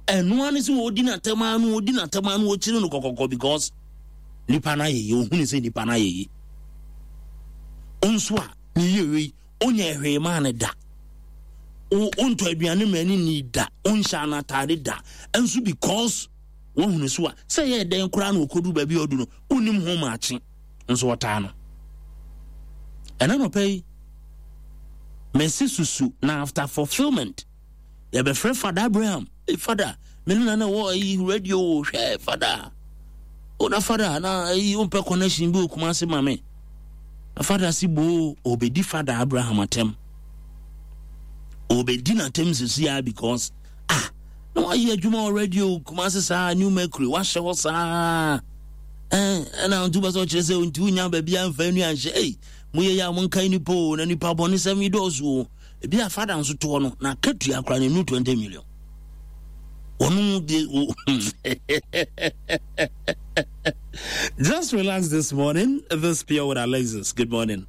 Ɛno ara ne sɛ wɔdi n'atɛm ara no wɔdi n'atɛm ara no wɔkyiri no kɔkɔkɔ because nipa no ayɛ yie ohunu sɛ nipa no ayɛ yie. Nso a ne yie wei onyɛ hwee maa no da. Wontɔ aduane ma ne ni da, wonhyɛ anataade da. Nso because wɔhunu so a sɛ yɛ dɛn koraa na ɔkɔduru baabi a ɔdu no wonnim ho maakye nso wɔtaa no. Ɛna nɔpɛ yi mɛsi susu na after fulfillment yɛbɛfrɛ Fada Abraham. Hey, Fada, me ne na na wɔ ayi radio hwɛ Fada. O na Fada na ayi wompɛ connection bi wɔ Kumasi ma me. Na Fada si boo obedi Fada Abraham atɛm. Obedi n'atɛm sisi a because ah na wayɛ adwuma wɔ radio Kumasi saa New Mercury wahyɛ hɔ saa. Eh, ɛna ntu bɛ sɛ ɔkyerɛ sɛ nti wonya baabi amfa nua nhyɛ. Ei, moyɛ yɛ a monkae nipa o na nipa bɔne sɛm yi dɔɔso o. Ebi a fada nso toɔ no na akatua koraa no ɛnu 20 million. Wɔn de Just relax this morning. This Pure with Alexis. Good morning.